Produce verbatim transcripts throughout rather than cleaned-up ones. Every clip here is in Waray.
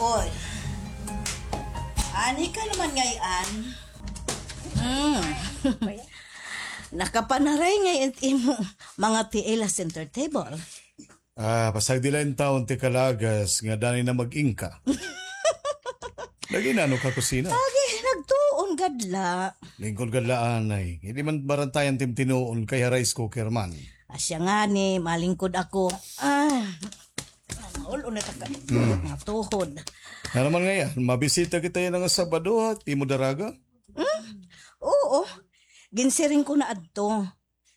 Oy. Ani ka naman ngay-an? Mm. Nakapanaray ngay-an it imo mga tiil ha center table. Ah, pasagdi la intawon ti kalagas nga danay na mag-ingka. Nag-inano ka kusina? Agi, nagtuon gad la. Lingkod gad la anay. Hindi man barantayan tim tinuon kay ha rice cooker man. Asya ngani, malingkod ako. Ah, maul-on na ta ka. Hmm. Mga tuhod. Nga naman ngay-an, mabisita kita yana nga Sabado, ha? Di mo daraga? Hmm? Oo. Ginsiring ko na adto.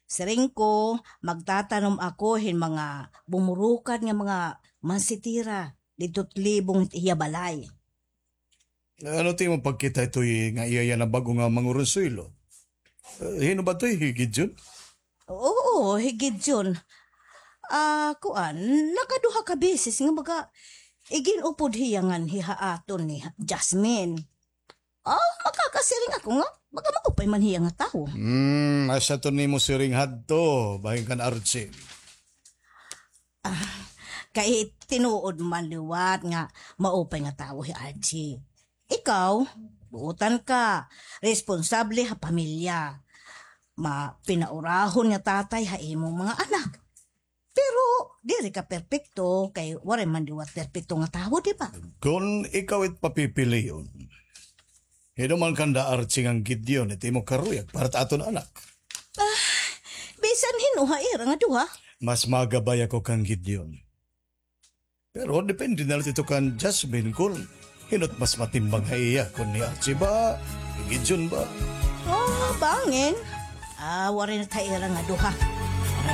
Siring ko, magtatanom ako hin mga bumurukad nga mga mansitira didto ha libong hit iya balay. Ano ti imo pagkita hitoy nga iya yana bag-o nga manguronsuelo? Eh, hin-o ba toy, hi Gideon? Oo, hi Gideon. Ah, kuan, nakaduha ka beses nga baga igin-upod hiya nganhi ha aton ni Jasmine. Ah, makakasiring ako nga, baga maupay man hiya nga tawo. Hmm, asya to nimo siring hadto, bahin kan Archie. Ah, kay tinuod man liwat nga maupay nga tawo hi Archie. Ikaw, buotan ka, responsable ha pamilya. Ma, pinaurahon nga tatay ha imong mga anak. Pero diri ka perpekto, kay waray man liwat perpekto nga tawo, di ba? Kon ikaw it papipilion, hin-o man kanda Archie ngan Gideon it imo karuyag para ta aton anak? Ah, bisan hin-o ha ira nga duha. Mas magabay ako kan Gideon. Pero depende na la ito kan Jasmine kon hin-o it mas matimbang ha iya, kon hi Archie ba, hi Gideon ba? Oh, bangin. Ah, waray na ta ira nga duha.